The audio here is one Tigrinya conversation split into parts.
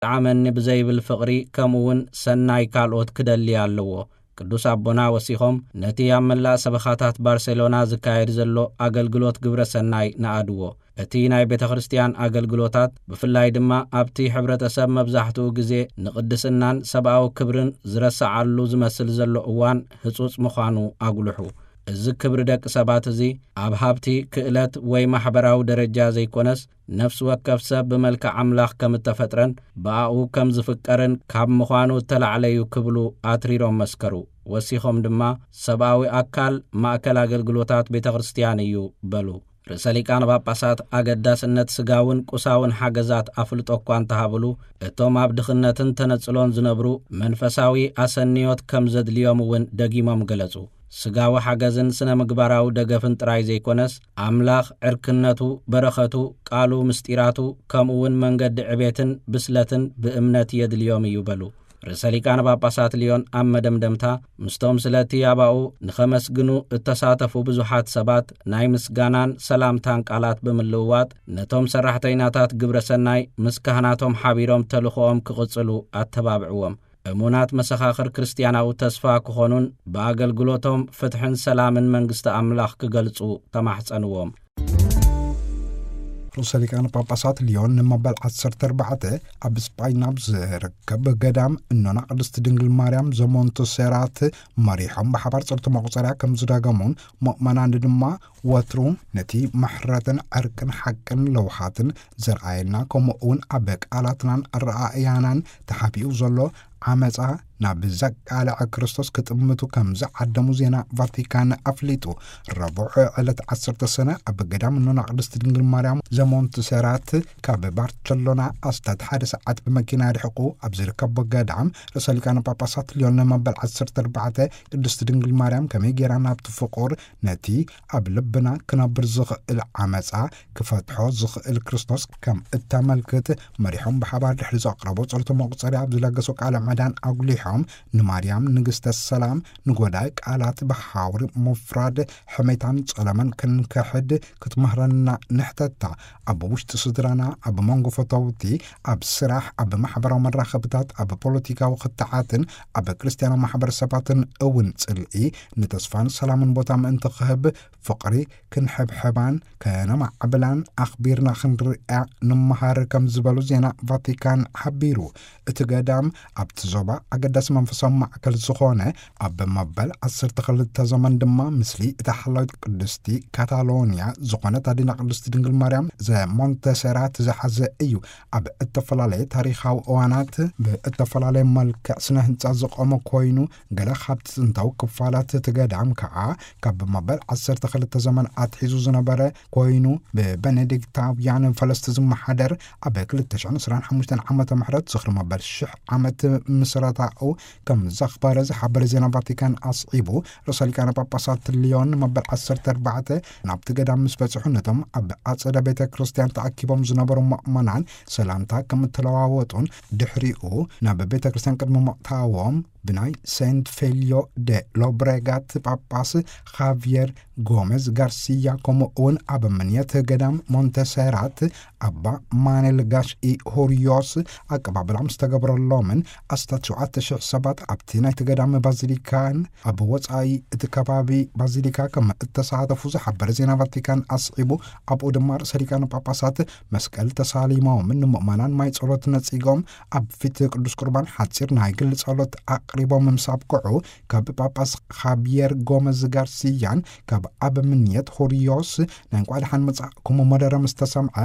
ጠዓመኒ ብዘይብል ፍቕሪ፣ ከምኡ እውን ሰናይ ካልኦት ክደሊ ኣለዎ። ቅዱስ ኣቦና ወሲኾም፣ ነቲ ኣብ መላእ ሰበኻታት ባርሴሎና ዝካየድ ዘሎ ኣገልግሎት ግብረ ሰናይ ንኣድዎ። እቲ ናይ ቤተ ክርስቲያን ኣገልግሎታት፣ ብፍላይ ድማ ኣብቲ ሕብረተሰብ መብዛሕትኡ ግዜ ንቕድስናን ሰብኣዊ ክብርን ዝረስዓሉ ዝመስል ዘሎ እዋን፣ ህጹጽ ምዃኑ ኣጉልሑ። እዚ ክብሪ ደቂ ሰባት እዚ፣ ኣብ ሃብቲ፣ ክእለት ወይ ማሕበራዊ ደረጃ ዘይኮነስ፣ ነፍሲ ወከፍ ሰብ ብመልክዕ ኣምላኽ ከም እተፈጥረን ብኣኡ ከም ዝፍቀርን ካብ ምዃኑ እተላዕለ እዩ ክብሉ ኣትሪሮም መስከሩ። ወሲኾም ድማ፣ ሰብኣዊ ኣካል ማእከል ኣገልግሎታት ቤተ ክርስቲያን እዩ በሉ። ርእሰ ሊቃነ ጳጳሳት ኣገዳስነት ስጋውን ቁሳውን ሓገዛት ኣፍልጦ እኳ እንተሃብሉ፣ እቶም ኣብ ድኽነትን ተነጽሎን ዝነብሩ መንፈሳዊ ኣሰንዮት ከም ዘድልዮም እውን ደጊሞም ገለጹ። ስጋዊ ሓገዝን ስነ ምግባራዊ ደገፍን ጥራይ ዘይኮነስ፣ ኣምላኽ ዕርክነቱ፣ በረኸቱ፣ ቃሉ፣ ምስጢራቱ፣ ከምኡ እውን መንገዲ ዕቤትን ብስለትን ብእምነት የድልዮም እዩ በሉ። ርእሰ ሊቃነ ጳጳሳት ሊዮን ኣብ መደምደምታ፣ ምስቶም ስለቲ ኣባኡ ንኸመስግኑ እተሳተፉ ብዙሓት ሰባት ናይ ምስጋናን ሰላምታን ቃላት ብምልውዋጥ፣ ነቶም ሰራሕተይናታት ግብረ ሰናይ ምስ ካህናቶም ሓቢሮም ተልእኾኦም ክቕጽሉ ኣተባብዕዎም። እሙናት መሰኻኽር ክርስትያናዊ ተስፋ ክኾኑን ብኣገልግሎቶም ፍትሕን ሰላምን መንግስቲ ኣምላኽ ክገልጹ ተማሕጸንዎም። ርእሰ ሊቃነ ጳጳሳት ሊዮን ንመበል ዓሰርተ ኣርባዕተ ኣብ ስጳይን ኣብ ዝርከብ ገዳም እኖና ቅድስቲ ድንግል ማርያም ዘሞንተሴራት መሪሖም ብሓባር ጸሎተ መቑጸርያ ከም ዝደገሙን፣ ምእመናን ድማ ወትሩ ነቲ ምሕረትን ዕርቅን ሓቅን ለውሃትን ዘርኣየና፣ ከምኡ እውን ኣብ ቃላትናን ኣረኣእያናን ተሓቢኡ ዘሎ ዓመጻ ናብ ዘቃልዐ ክርስቶስ ክጥምቱ ከም ዝዓደሙ ዜና ቫቲካን ኣፍሊጡ። ረቡዕ ዕለት ዓሰርተ ሰነ ኣብ ገዳም እኖና ቅድስቲ ድንግል ማርያም ዘሞንትሴራት ካብ ባርቸሎና ኣስታት ሓደ ሰዓት ብመኪና ርሕቑ ኣብ ዝርከብ ገዳም፣ ርእሰ ሊቃነ ጳጳሳት ሊዮን መበል ዓሰርተ ኣርባዕተ ቅድስቲ ድንግል ማርያም ከመይ ጌራ ናብቲ ፍቑር፣ ነቲ ኣብ ልብና ክነብር ዝኽእል ዓመጻ ክፈትሖ ዝኽእል ክርስቶስ ከም እተመልክት መሪሖም ብሓባር ድሕሪ ዘቕረቦ ጸሎተ መቑጸርያ ኣብ ዝለገሶ ቃለ ምዕዳን ኣጉሊሖም፣ ንማርያም ንግስተ ሰላም፣ ንጎዳኢ ቃላት ብሓውሪ ምፍራድ፣ ሕሜታን ጸለመን ክንክሕድ ክትምህረና ንሕተታ። ኣብ ውሽጢ ስድራና፣ ኣብ መንጎ ፈተውቲ፣ ኣብ ስራሕ፣ ኣብ ማሕበራዊ መራኸብታት፣ ኣብ ፖለቲካዊ ክትዓትን ኣብ ክርስትያናዊ ማሕበረሰባትን እውን ጽልኢ ንተስፋን ሰላምን ቦታ ምእንቲ ክህብ፣ ፍቕሪ ክንሕብሕባን ከነማዕብላን ኣኽቢርና ክንርእያ ንመሃር ከም ዝበሉ ዜና ቫቲካን ሓቢሩ። እቲ ገዳም ኣብቲ ዞባ ኣገዳሲ መንፈሳዊ ማዕከል ዝኾነ፣ ኣብ መበል ዓሰርተ ክልተ ዘመን ድማ ምስሊ እታ ሓላዊት ቅድስቲ ካታሎንያ ዝኾነት ኣዴና ቅድስቲ ድንግል ማርያም ዘሞንተሴራት ዝሓዘ እዩ። ኣብ እተፈላለየ ታሪኻዊ እዋናት ብእተፈላለየ መልክዕ ስነ ህንጻ ዝቖመ ኮይኑ፣ ገለ ካብቲ ጥንታዊ ክፋላት እቲ ገዳም ከዓ ካብ መበል ዓሰርተ ክልተ ዘመን ኣትሒዙ ዝነበረ ኮይኑ፣ ብበኔዲክታውያን ፈለስቲ ዝመሓደር፣ ኣብ ክልተ ሽሕን ዕስራን ሓሙሽተን ዓመተ ምህረት ዝኽሪ መበል ሽሕ ዓመት ምስረታኡ ከም ዘኽበረ ዝሓበረ ዜና ቫቲካን ኣስዒቡ፣ ርእሰ ሊቃነ ጳጳሳት ሊዮን መበል ዓሰርተ ኣርባዕተ ናብቲ ገዳም ምስ በጽሑ፣ ነቶም ኣብ ኣጸደ ቤተ ክርስቲያን ተኣኪቦም ዝነበሩ ምእመናን ሰላምታ ከም እተለዋወጡን፣ ድሕሪኡ ናብ ቤተ ክርስቲያን ቅድሚ ምእታዎም ብናይ ሴንት ፌልዮ ደ ሎብሬጋት ጳጳስ ኻቪየር ጎሜዝ ጋርሲያ፣ ከምኡ እውን ኣብ ምንየት ገዳም ሞንተሴራት ኣባ ማኑኤል ጋሽ ኢ ሆሪዮስ ኣቀባብላ ምስ ተገብረሎምን፣ ኣስታት ሸውዓተ ሽሕ ሰባት ኣብቲ ናይቲ ገዳም ባዚሊካን ኣብ ወጻኢ እቲ ከባቢ ባዚሊካ ከም እተሳተፉ ዝሓበረ ዜና ቫቲካን ኣስዒቡ፣ ኣብኡ ድማ ርእሰ ሊቃነ ጳጳሳት መስቀል ተሳሊሞምን ንምእመናን ማይ ጸሎት ነጺጎም ኣብ ፊት ቅዱስ ቁርባን ሓጺር ናይ ግል ጸሎት ኣቕሪቦም ምስ ኣብቅዑ፣ ካብ ጳጳስ ኻቢየር ጎመዝ ጋርሲያን ካብ ኣብ ምንየት ሆሪዮስ ናይ እንኳዕ ደሓን መጻእኩም መደረ ምስ ተሰምዐ፣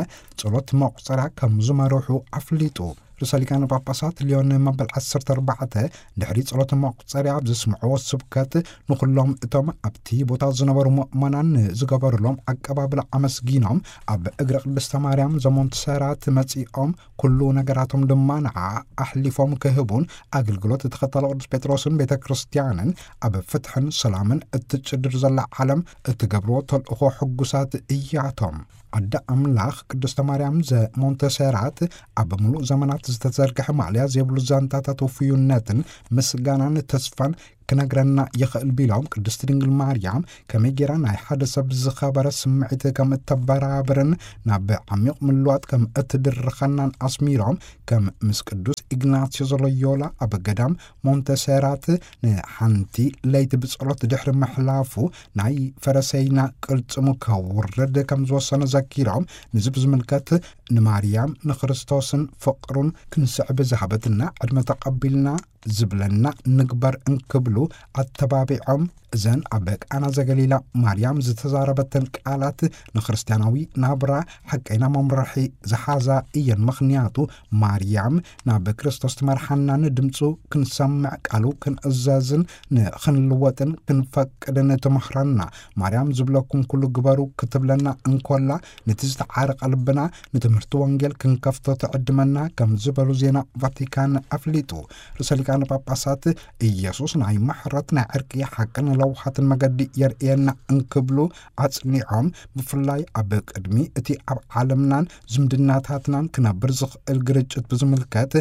ጸሎት መቑጸርያ ከም ዝመርሑ ኣፍሊጡ። ርእሰ ሊቃነ ጳጳሳት ሊዮን መበል ዓሰርተ ኣርባዕተ ድሕሪ ጸሎት መቑጸርያ ኣብ ዘስምዕዎ ስብከት፣ ንኹሎም እቶም ኣብቲ ቦታ ዝነበሩ ምእመናን ንዝገበሩሎም ኣቀባብላ ኣመስጊኖም፣ ኣብ እግሪ ቅድስተ ማርያም ዘሞንትሴራት መጺኦም፣ ኩሉ ነገራቶም ድማ ንዓ ኣሕሊፎም ክህቡን፣ ኣገልግሎት ተኸታሊ ቅዱስ ጴጥሮስን ቤተ ክርስቲያንን ኣብ ፍትሕን ሰላምን እትጭድር ዘላ ዓለም እትገብርዎ ተልእኾ ሕጉሳት እያቶም። ኣደ ኣምላኽ ቅድስተ ማርያም ዘሞንተሴራት ኣብ ምሉእ ዘመናት ዝተዘርግሐ ማዕለያ ዘይብሉ ዛንታታት ውፍዩነትን ምስጋናን ተስፋን ክነግረና ይኽእል ቢሎም፣ ቅድስቲ ድንግል ማርያም ከመይ ጌራ ናይ ሓደ ሰብ ዝኸበረ ስምዒት ከም እተበራብርን ናብ ዓሚቕ ምልዋጥ ከም እትድርኸናን ኣስሚሮም፣ ከም ምስ ቅዱስ ኢግናስዮስ ሎዮላ ኣብ ገዳም ሞንተሴራት ንሓንቲ ለይቲ ብጸሎት ድሕሪ ምሕላፉ ናይ ፈረሰይና ቅልጽሙ ከውርድ ከም ዝወሰነ ዘኪሮም፣ ንዚ ብዝምልከት ንማርያም ንክርስቶስን ፍቕሩን ክንስዕብ ዝሃበትና ዕድመ ተቐቢልና ዝብለና ንግበር እንክብሉ ኣተባቢዖም፣ እዘን ኣብ ቃና ዘገሊላ ማርያም ዝተዛረበተን ቃላት ንክርስትያናዊ ናብራ ሓቀይና መምርሒ ዝሓዛ እየን። ምኽንያቱ ማርያም ናብ ክርስቶስ ትመርሓና፣ ንድምፁ ክንሰምዕ፣ ቃሉ ክንእዘዝን ንኽንልወጥን ክንፈቅድን ትምህረና። ማርያም ዝብለኩም ኩሉ ግበሩ ክትብለና እንኮላ፣ ነቲ ዝተዓረቐ ልብና ንትምህርቲ ወንጌል ክንከፍቶ ትዕድመና ከም ዝበሉ ዜና ቫቲካን ኣፍሊጡ። ርእሰ ሊቃነ ጳጳሳት ኢየሱስ ናይ ምሕረት፣ ናይ ዕርቂ፣ ሓቅን ለውሃትን መገዲ የርእየና እንክብሉ ኣጽኒዖም፣ ብፍላይ ኣብ ቅድሚ እቲ ኣብ ዓለምናን ዝምድናታትናን ክነብር ዝኽእል ግርጭት ብዝምልከት፣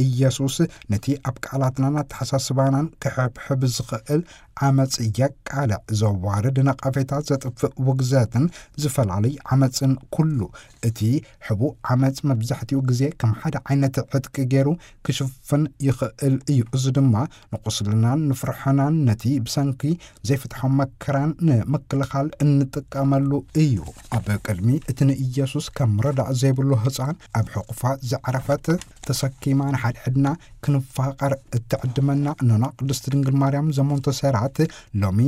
ኢየሱስ ነቲ ኣብ ቃላትናን ኣተሓሳስባናን ክሕብሕብ ዝኽእል ዓመጽ የቃልዕ። ዘዋርድ ነቐፌታ፣ ዘጥፍእ ውግዘትን ዝፈላለይ ዓመጽን ኩሉ። እቲ ሕቡእ ዓመጽ መብዛሕትኡ ግዜ ከም ሓደ ዓይነት ዕጥቂ ገይሩ ክሽፍን ይኽእል እዩ። እዚ ድማ ንቁስልናን ንፍርሕናን ነቲ ብሰንኪ ዘይፍትሖም መከራን ንምክልኻል እንጥቀመሉ እዩ። ኣብ ቅድሚ እቲ ንኢየሱስ ከም ረዳእ ዘይብሉ ህፃን ኣብ ሕቑፋ ዘዕረፈት ተሰኪማ ንሓድሕድና ክንፋቐር እትዕድመና እኖና ቅድስቲ ድንግል ማርያም ዘሞንተሴራት፣ ሎሚ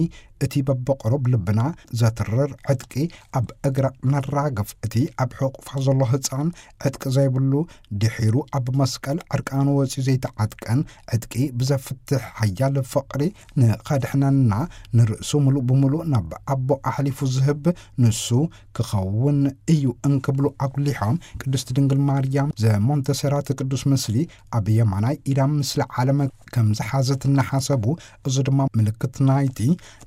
እቲ በብቕሩብ ልብና ዘትርር ዕጥቂ ኣብ እግራ ነራግፍ። እቲ ኣብ ሕቑፋ ዘሎ ህፃን ዕጥቂ ዘይብሉ፣ ድሒሩ ኣብ መስቀል ዕርቃኑ ወፂኡ ዘይተዓጥቀን ዕጥቂ ብዘፍትሕ ሓያል ፍቕሪ ንኸድሕነና፣ ንርእሱ ምሉእ ብምሉእ ናብ ኣቦ ኣሕሊፉ ዝህብ ንሱ ክኸውን እዩ እንክብሉ ኣጉሊሖም፣ ቅድስቲ ድንግል ማርያም ዘሞንተሴራት ቅዱስ ምስሊ ኣብ የማናይ ኢዳ ምስሊ ዓለም ከም ዝሓዘት እናሓሰቡ፣ እዚ ድማ ምልክት ናይቲ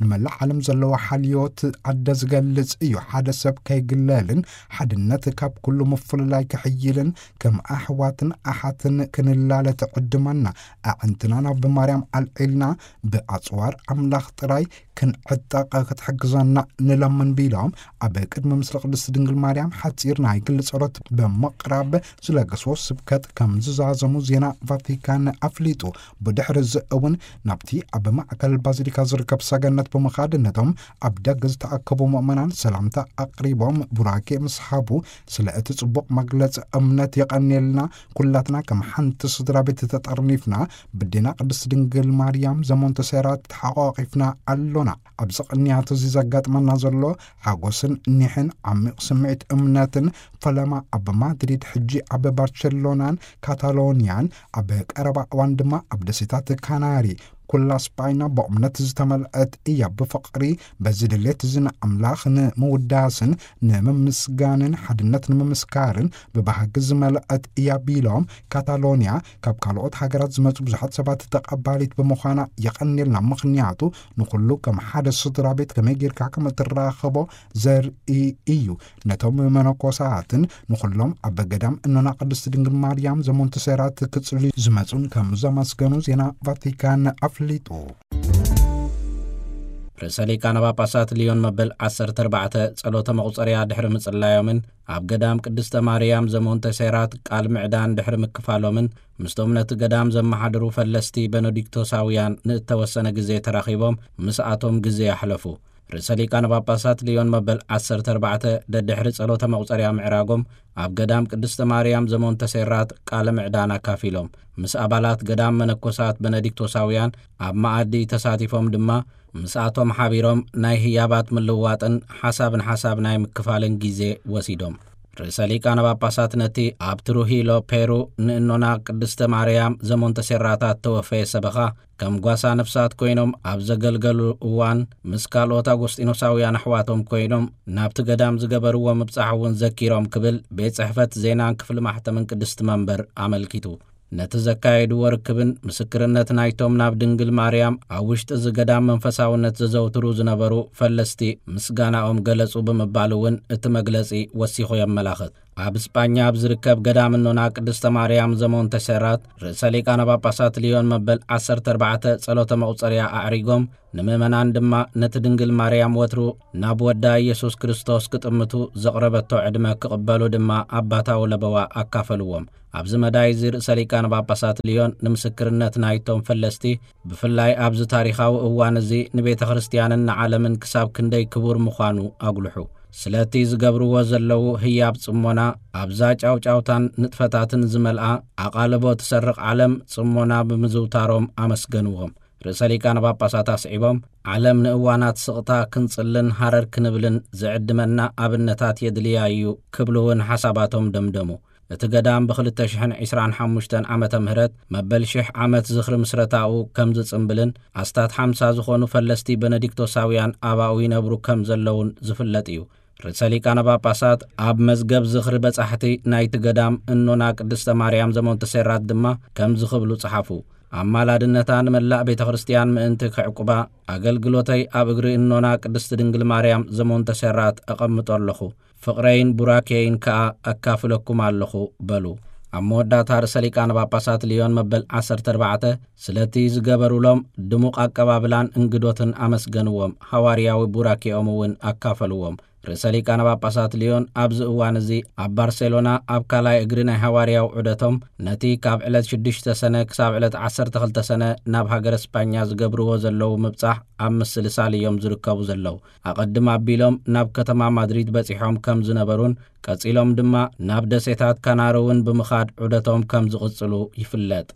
ንመላእ ዓለም ዘለዎ ሓልዮት ኣደ ዝገልጽ እዩ። ሓደ ሰብ ከይግለልን ሓድነት ካብ ኩሉ ምፍልላይ ክሕይልን ከም ኣሕዋትን ኣሓትን ክንላለ ትዕድመና። ኣዕንትና ናብ ማርያም ኣልዒልና ብኣጽዋር ኣምላኽ ጥራይ ክንዕጠቕ ክትሕግዘና ንለምን ቢሎም፣ ኣብ ቅድሚ ምስሊ ቅድስቲ ድንግል ማርያም ሓጺር ናይ ግሊ ጸሎት ብምቕራብ ዝለገስዎ ስብከት ከም ዝዛዘሙ ዜና ቫቲካን ኣፍሊጡ። ብድሕሪ እዚ እውን ናብቲ ኣብ ማእከል ባዚሊካ ዝርከብ ሰገነት ብምኻድ ነቶም ኣብ ደገ ዝተኣከቡ ምእመናን ሰላምታ ኣቕሪቦም ቡራኬ ምስ ሃቡ፣ ስለ እቲ ጽቡቕ መግለጺ እምነት የቐንየልና፣ ኩላትና ከም ሓንቲ ስድራ ቤት ተጠርኒፍና ብዴና ቅድስቲ ድንግል ማርያም ዘሞንተሴራት ተሓቋቒፍና ኣሎና። ኣብዚ ቅንያት እዚ ዘጋጥመና ዘሎ ሓጎስን ኒሕን ዓሚቕ ስምዒት እምነትን፣ ፈለማ ኣብ ማድሪድ፣ ሕጂ ኣብ ባርቸሎናን ካታሎንያን፣ ኣብ ቀረባ እዋን ድማ ኣብ ደሴታት ካናሪ፣ ኩላ ስጳይና ብእምነት ዝተመልአት እያ። ብፍቕሪ በዚ ድሌት እዚ ንኣምላኽ ንምውዳስን ንምምስጋንን ሓድነት ንምምስካርን ብባህጊ ዝመልአት እያ ቢሎም፣ ካታሎንያ ካብ ካልኦት ሃገራት ዝመጹ ብዙሓት ሰባት ተቐባሊት ብምዃና የቐንየልና። ምኽንያቱ ንኹሉ ከም ሓደ ስድራ ቤት ከመይ ጌርካ ከም እትራኸቦ ዘርኢ እዩ። ነቶም መነኮሳትን ንኹሎም ኣብ ገዳም እኖና ቅድስቲ ድንግል ማርያም ዘሞንተሴራት ክጽልዩ ዝመጹን ከም ዘመስገኑ ዜና ቫቲካን ኣፍሊጡ። ርእሰ ሊቃነ ጳጳሳት ሊዮን መበል ዓሰርተ ኣርባዕተ ጸሎተ መቑጸርያ ድሕሪ ምጽላዮምን ኣብ ገዳም ቅድስተ ማርያም ዘሞንተሴራት ቃል ምዕዳን ድሕሪ ምክፋሎምን፣ ምስቶም ነቲ ገዳም ዘመሓድሩ ፈለስቲ በነዲክቶሳውያን ንእተወሰነ ግዜ ተራኺቦም ምስኣቶም ግዜ ኣሕለፉ። ርእሰ ሊቃነ ጳጳሳት ሊዮን መበል ዓሰርተ ኣርባዕተ ደድሕሪ ጸሎተ መቑጸርያ ምዕራጎም፣ ኣብ ገዳም ቅድስተ ማርያም ዘሞንተሴራት ቃለ ምዕዳን ኣካፊሎም። ምስ ኣባላት ገዳም መነኮሳት በነዲክቶሳውያን ኣብ መኣዲ ተሳቲፎም ድማ፣ ምስኣቶም ሓቢሮም ናይ ህያባት ምልውዋጥን ሓሳብ ንሓሳብ ናይ ምክፋልን ግዜ ወሲዶም። ርእሰ ሊቃነ ጳጳሳት ነቲ ኣብ ትሩሂሎ ፔሩ ንእኖና ቅድስተ ማርያም ዘሞንተሴራታት ተወፈየ ሰበኻ፣ ከም ጓሳ ነፍሳት ኮይኖም ኣብ ዘገልገሉ እዋን፣ ምስ ካልኦት ኣጎስጢኖሳውያን ኣሕዋቶም ኮይኖም ናብቲ ገዳም ዝገበርዎ ምብጻሕ እውን ዘኪሮም ክብል ቤት ጽሕፈት ዜናን ክፍሊ ማሕተምን ቅድስቲ መንበር ኣመልኪቱ። ነቲ ዘካየድዎ ርክብን ምስክርነት ናይቶም ናብ ድንግል ማርያም ኣብ ውሽጢ እዚ ገዳም መንፈሳውነት ዘዘውትሩ ዝነበሩ ፈለስቲ ምስጋናኦም ገለጹ ብምባል እውን እቲ መግለጺ ወሲኹ የመላኽት። ኣብ ስጳኛ ኣብ ዝርከብ ገዳም እኖና ቅድስተ ማርያም ዘሞንተሴራት፣ ርእሰ ሊቃነ ጳጳሳት ሊዮን መበል ዓሰርተ ኣርባዕተ ጸሎተ መቑጸርያ ኣዕሪጎም፣ ንምእመናን ድማ ነቲ ድንግል ማርያም ወትሩ ናብ ወዳ ኢየሱስ ክርስቶስ ክጥምቱ ዘቕረበቶ ዕድመ ክቕበሉ ድማ ኣባታዊ ለበዋ ኣካፈልዎም። ኣብዚ መዳይ እዚ ርእሰ ሊቃነ ጳጳሳት ሊዮን ንምስክርነት ናይቶም ፈለስቲ፣ ብፍላይ ኣብዚ ታሪኻዊ እዋን እዚ ንቤተ ክርስቲያንን ንዓለምን ክሳብ ክንደይ ክቡር ምዃኑ ኣጉልሑ። ስለቲ ዝገብርዎ ዘለዉ ህያብ ጽሞና ኣብዛ ጫውጫውታን ንጥፈታትን ዝመልኣ ኣቓልቦ ትሰርቕ ዓለም ጽሞና ብምዝውታሮም ኣመስገንዎም። ርእሰ ሊቃነ ጳጳሳት ኣስዒቦም፣ ዓለም ንእዋናት ስቕታ ክንጽልን ሃረር ክንብልን ዝዕድመና ኣብነታት የድልያ እዩ ክብሉ እውን ሓሳባቶም ደምደሙ። እቲ ገዳም ብ ክልተ ሽሕን ዕስራን ሓሙሽተን ዓመተ ምህረት መበል ሽሕ ዓመት ዝኽሪ ምስረታኡ ከም ዝጽምብልን ኣስታት ሓምሳ ዝኾኑ ፈለስቲ በነዲክቶሳውያን ኣባኡ ይነብሩ ከም ዘለውን ዝፍለጥ እዩ። ርእሰ ሊቃነ ጳጳሳት ኣብ መዝገብ ዝኽሪ በጻሕቲ ናይቲ ገዳም እኖና ቅድስተ ማርያም ዘሞንተሴራት ድማ ከምዚ ክብሉ ጸሓፉ። ኣማላድነታ ንመላእ ቤተ ክርስቲያን ምእንቲ ክዕቁባ፣ ኣገልግሎተይ ኣብ እግሪ እኖና ቅድስቲ ድንግል ማርያም ዘሞንተሴራት ኣቐምጦ ኣለኹ። ፍቕረይን ቡራኬይን ከኣ ኣካፍለኩም ኣለኹ በሉ። ኣብ መወዳእታ ርእሰ ሊቃነ ጳጳሳት ሊዮን መበል ዓሰርተ ኣርባዕተ ስለቲ ዝገበሩሎም ድሙቕ ኣቀባብላን እንግዶትን ኣመስገንዎም፣ ሃዋርያዊ ቡራኬኦም እውን ኣካፈልዎም። ርእሰ ሊቃነ ጳጳሳት ሊዮን ኣብዚ እዋን እዚ ኣብ ባርሴሎና ኣብ ካልኣይ እግሪ ናይ ሃዋርያዊ ዑደቶም፣ ነቲ ካብ ዕለት ሽዱሽተ ሰነ ክሳብ ዕለት ዓሰርተ ክልተ ሰነ ናብ ሃገረ ስጳኛ ዝገብርዎ ዘለዉ ምብጻሕ ኣብ ምስልሳል እዮም ዝርከቡ ዘለዉ። ኣቐድም ኣቢሎም ናብ ከተማ ማድሪድ በጺሖም ከም ዝነበሩን ቀጺሎም ድማ ናብ ደሴታት ካናሪ እውን ብምኻድ ዑደቶም ከም ዝቕጽሉ ይፍለጥ።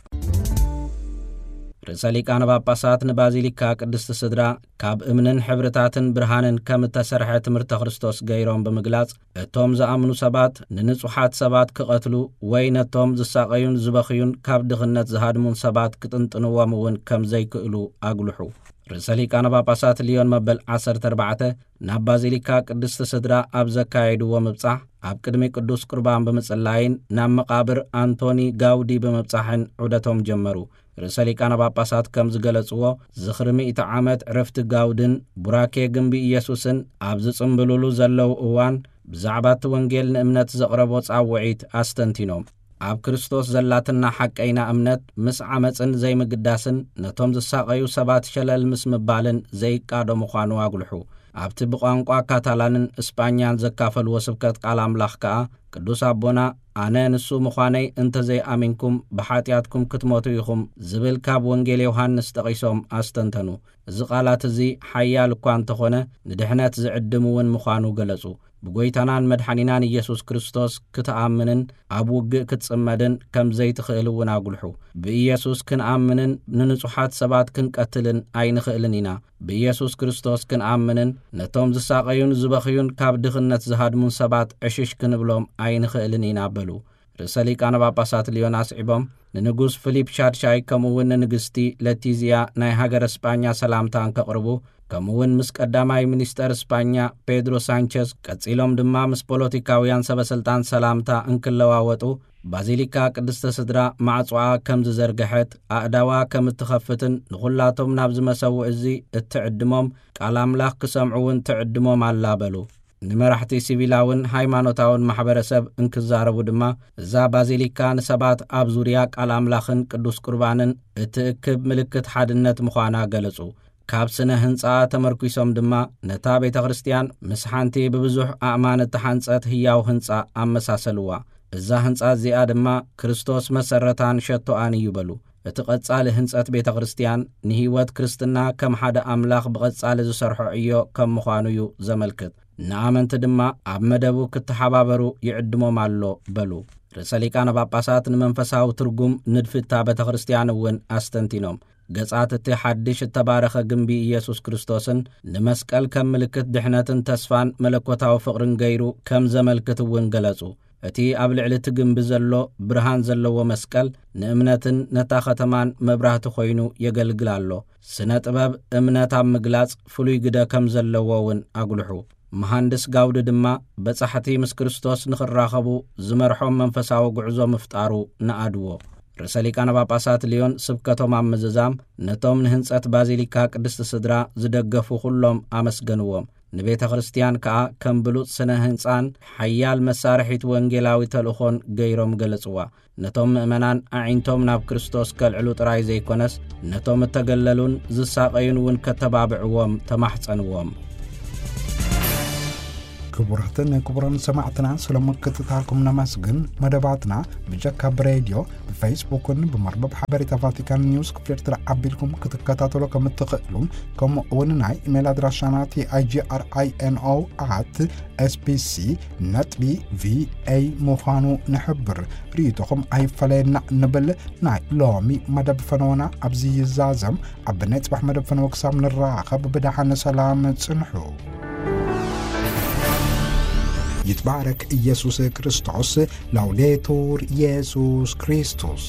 ርእሰ ሊቃነ ጳጳሳት ንባዚሊካ ቅድስቲ ስድራ ካብ እምንን ሕብርታትን ብርሃንን ከም እተሰርሐ ትምህርተ ክርስቶስ ገይሮም ብምግላጽ፣ እቶም ዝኣምኑ ሰባት ንንጹሓት ሰባት ክቐትሉ ወይ ነቶም ዝሳቐዩን ዝበኽዩን ካብ ድኽነት ዝሃድሙን ሰባት ክጥንጥንዎም እውን ከም ዘይክእሉ ኣጉልሑ። ርእሰ ሊቃነ ጳጳሳት ሊዮን መበል ዓሰርተ ኣርባዕተ ናብ ባዚሊካ ቅድስቲ ስድራ ኣብ ዘካየድዎ ምብጻሕ፣ ኣብ ቅድሚ ቅዱስ ቁርባን ብምጽላይን ናብ መቓብር ኣንቶኒ ጋውዲ ብምብጻሕን ዑደቶም ጀመሩ። ርእሰ ሊቃነ ጳጳሳት ከም ዝገለጽዎ፣ ዝኽሪ ሚእቲ ዓመት ዕረፍቲ ጋውድን ቡራኬ ግንቢ ኢየሱስን ኣብ ዝጽምብሉሉ ዘለዉ እዋን፣ ብዛዕባ እቲ ወንጌል ንእምነት ዘቕረቦ ጻውዒት ኣስተንቲኖም። ኣብ ክርስቶስ ዘላትና ሓቀይና እምነት ምስ ዓመጽን ዘይምግዳስን ነቶም ዝሳቐዩ ሰባት ሸለል ምስ ምባልን ዘይቃዶ ምዃኑ ኣጉልሑ። ኣብቲ ብቋንቋ ካታላንን እስጳኛን ዘካፈልዎ ስብከት ቃል ኣምላኽ ከኣ፣ ቅዱስ ኣቦና፣ "ኣነ ንሱ ምዃነይ እንተ ዘይኣሚንኩም፣ ብሓጢኣትኩም ክትሞቱ ኢኹም" ዝብል ካብ ወንጌል ዮሃንስ ጠቒሶም ኣስተንተኑ። እዚ ቃላት እዚ ሓያል እኳ እንተኾነ፣ ንድሕነት ዝዕድም እውን ምዃኑ ገለጹ። ብጎይታናን መድሓኒናን ኢየሱስ ክርስቶስ ክትኣምንን ኣብ ውግእ ክትጽመድን ከም ዘይትኽእል እውን ኣጉልሑ። ብኢየሱስ ክንኣምንን ንንጹሓት ሰባት ክንቀትልን ኣይንኽእልን ኢና። ብኢየሱስ ክርስቶስ ክንኣምንን ነቶም ዝሳቐዩን ዝበኽዩን ካብ ድኽነት ዝሃድሙን ሰባት ዕሽሽ ክንብሎም ኣይንኽእልን ኢና በሉ። ርእሰ ሊቃነ ጳጳሳት ሊዮን ኣስዒቦም፣ ንንጉስ ፊሊፕ ሻድሻይ ከምኡ እውን ንንግስቲ ለቲዝያ ናይ ሃገረ ስጳኛ ሰላምታ እንከቕርቡ፣ ከምኡ እውን ምስ ቀዳማይ ሚኒስተር ስጳኛ ፔድሮ ሳንቸዝ፣ ቀጺሎም ድማ ምስ ፖለቲካውያን ሰበስልጣን ሰላምታ እንክለዋወጡ፣ ባዚሊካ ቅድስተ ስድራ ማዕጾኣ ከም ዝዘርግሐት፣ ኣእዳዋ ከም እትኸፍትን ንኹላቶም ናብዚ መሰውኢ እዚ እትዕድሞም፣ ቃል ኣምላኽ ክሰምዑ እውን ትዕድሞም ኣላ በሉ። ንመራሕቲ ሲቪላውን ሃይማኖታውን ማሕበረሰብ እንክዛረቡ ድማ፣ እዛ ባዚሊካ ንሰባት ኣብ ዙርያ ቃል ኣምላኽን ቅዱስ ቁርባንን እትእክብ ምልክት ሓድነት ምዃና ገለጹ። ካብ ስነ ህንጻኣ ተመርኲሶም ድማ፣ ነታ ቤተ ክርስቲያን ምስ ሓንቲ ብብዙሕ ኣእማን እተሓንጸት ህያው ህንጻ ኣመሳሰልዋ። እዛ ህንጻ እዚኣ ድማ ክርስቶስ መሰረታን ሸቶኣን እዩ በሉ። እቲ ቀጻሊ ህንጸት ቤተ ክርስቲያን ንህይወት ክርስትና ከም ሓደ ኣምላኽ ብቐጻሊ ዝሰርሖ ዕዮ ከም ምዃኑ እዩ ዘመልክት። ንኣመንቲ ድማ ኣብ መደቡ ክተሓባበሩ ይዕድሞም ኣሎ በሉ። ርእሰ ሊቃነ ጳጳሳት ንመንፈሳዊ ትርጉም ንድፊ እታ ቤተ ክርስቲያን እውን ኣስተንቲኖም። ገጻት እቲ ሓድሽ እተባረኸ ግንቢ ኢየሱስ ክርስቶስን ንመስቀል ከም ምልክት ድሕነትን ተስፋን መለኮታዊ ፍቕርን ገይሩ ከም ዘመልክት እውን ገለጹ። እቲ ኣብ ልዕሊ እቲ ግንቢ ዘሎ ብርሃን ዘለዎ መስቀል ንእምነትን ነታ ከተማን መብራህቲ ኮይኑ የገልግል ኣሎ። ስነ ጥበብ እምነት ኣብ ምግላጽ ፍሉይ ግደ ከም ዘለዎ እውን ኣጉልሑ። መሃንድስ ጋውዲ ድማ በጻሕቲ ምስ ክርስቶስ ንኽራኸቡ ዝመርሖም መንፈሳዊ ጉዕዞ ምፍጣሩ ነኣድዎ። ርእሰ ሊቃነ ጳጳሳት ሊዮን ስብከቶም ኣብ ምዝዛም ነቶም ንህንጸት ባዚሊካ ቅድስቲ ስድራ ዝደገፉ ኩሎም ኣመስገንዎም። ንቤተ ክርስቲያን ከኣ ከም ብሉጽ ስነ ህንጻን ሓያል መሳርሒት ወንጌላዊ ተልእኾን ገይሮም ገለጽዋ። ነቶም ምእመናን ኣዒንቶም ናብ ክርስቶስ ከልዕሉ ጥራይ ዘይኮነስ፣ ነቶም እተገለሉን ዝሳቐዩን እውን ከተባብዕዎም ተማሕጸንዎም። ክቡራትን ክቡራን ሰማዕትና፣ ስለ ምክትታልኩም ነመስግን። መደባትና ብጀካ ብሬድዮ፣ ብፌስቡክን ብመርበብ ሓበሬታ ቫቲካን ኒውስ ክፍል ኤርትራ ኣቢልኩም ክትከታተሉ ከም እትኽእሉ፣ ከምኡ እውን ናይ ኢሜይል ኣድራሻና ቲኣይጂኣርኣይኤንኦ ኣት ኤስቢሲ ነጥቢ ቪኦኤ ምዃኑ ንሕብር። ርእይቶኹም ኣይፈለየና ንብል። ናይ ሎሚ መደብ ፈነወና ኣብዚ ይዛዘም። ኣብ ናይ ጽባሕ መደብ ፈነወ ክሳብ ንራኸብ ብደሓን ሰላም ጽንሑ። ይትባረክ ኢየሱስ ክርስቶስ። ላውዴቱር ኢየሱስ ክርስቶስ።